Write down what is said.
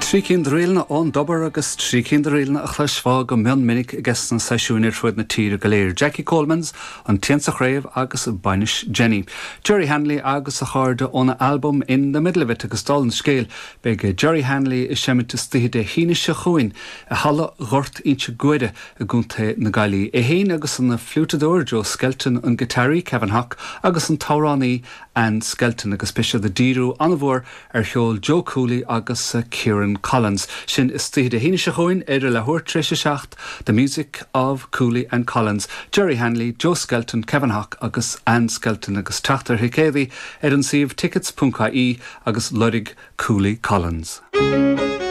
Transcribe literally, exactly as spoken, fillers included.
Trí cinn de ríleanna ón dtobar agus trí cinn de ríleanna a chloisfeá go mion minic ag na seisiúin ar fud na tíre go léir. Jackie Colemans an t-éan sa chraobh agus Bainis Jenny. Jerry Hanley agus a chairde óna album In the Middle of It agus dála an scéil beidh Jerry Hanley ag seimint istoíche Dé hAoine seo chugainn i Halla Ghort Inse Guaire i gContae na Gaillimhe. É féin agus an fliútadóir Joe Skelton an giotáraí Kevin Hock agus an t-amhránaí Ann Skelton agus beidh siad ag díriú an-mhór ar cheol Joe Cooley agus Kieran Collins. Sin istoíche Dé hAoine seo chugainn ar a leathuair tar éis a seacht, The Music of Cooley and Collins. Jerry Hanley, Joe Skelton, Kevin Hock agus Ann Skelton agus teacht ar thicéidí ar an suíomh tickets.ie agus lorg Cooley Collins.